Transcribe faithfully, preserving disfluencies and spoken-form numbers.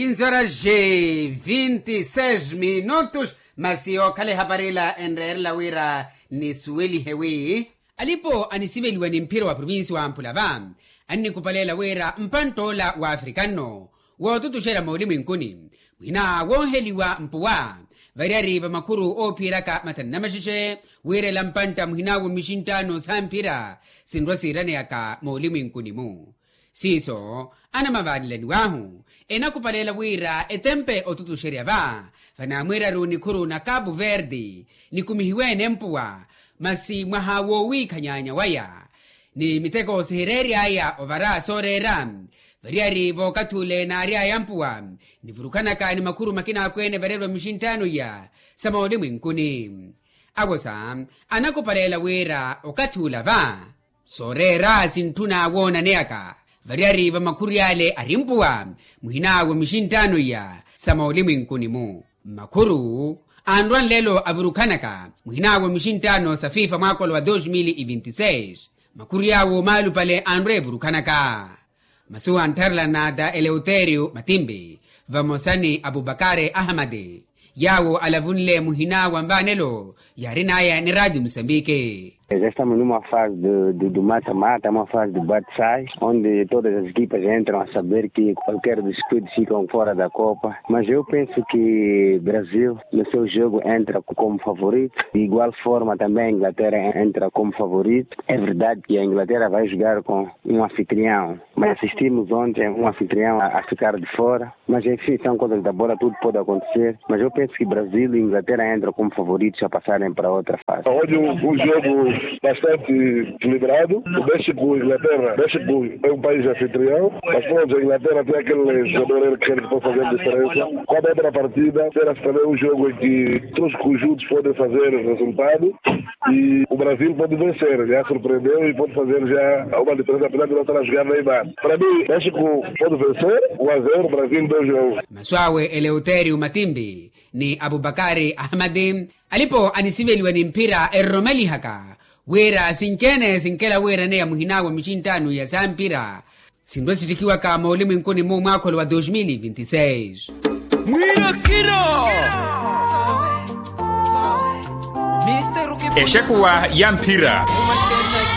Insoraxe vinti seis minutos. Masi okhala ehapari ila enreerela wira nisuwelihe wi, alipo anisiveliwa ni mphira wa provincia wa mpula va, annikupaleela wira mpantta ola wa africano wootutuxerya moolimwenkuni muhina wooheliwa mpuwa variyari va makhuru oophiyeraka mathanu namaxexe, wira ela mpantta muhina wo mixinttaano sa mphira sinrwa siiraneyaka moolimwenkuni-mu. Siiso anamavaanelaniwahu enakupaleela wira etempe otutuxerya va vanaamwiiraru nikhuru na capu verde nikumihiwe-ene mpuwa, masi mwaha woowiikhanyaanya waya ni miteko sihireery'aya ovara sooreera variyari vookathi ule naary'aya mpuwa nivurukhanaka ni makhuru makina akweene variyari va mixinttaano iya sa moolimwenkuni. Awosa anakupaleela wira okathi ula va sooreera sintthuna woonaneyaka variyari va makhuru yaale ari mpuwa muhina wo mixinttaano iya sa moolimwenkuni-mu. Makhuru anrwa nlelo avurukhanaka muhina wo mixinttaano sa fifa mwaakolo wa dos mil e vinti seis, makhuru yaawo maalupale anrwa evurukhanaka. Masu anttharela nata eleuterio matimpi vamosa ni abubakare ahamadi yaawo alavunle muhina wa mvaanelo yaarin'aya ni radio musambiki. Esta munuma fase do mata-mata uma fase do batsai onde todas as equipas entram a saber ki qualquer discuido ficam fora da copa. Mas eu penso ki brasil no seu jogo entra como favorito de igual forma também a inglaterra entra como favorito. É verdade ki a inglaterra vai jogar com um anfitrião, mas assistimos ontem um anfitrião a ficar de fora. Mas enfim são coisas da bola tudo pode acontecer. Mas eu penso ki brasil e inglaterra entram como favoritos a passarem para outra fase. Onde um jogo bastante equilibrado. O méxico inglaterra méxico é um país anfitrião. Mas pronto a inglaterra tem aquele jogador erker que pode fazer diferença. Quando entra a partida terá-se também um jogo em que todos os conjuntos podem fazer resultado. E o brasil pode vencer já surpreendeu e pode fazer já uma diferença apesar de não estar a jogar na imana. Para mim acho que pode vencer. Um a zero brasil dois a um. Masu awe eleuterio matimpi ni abubakari ahamadi alipo anisiveliwa ni mphira eroromelihaka wira sinci-ene sinkela wiiraneya muhina wa mixinttaano iya sa mphira sinrwa sittikiwaka moolimwenkuni-mu mwaakholo wa dos mil e vinti seis. Mwiirokiro. Exekuwa ya mphira.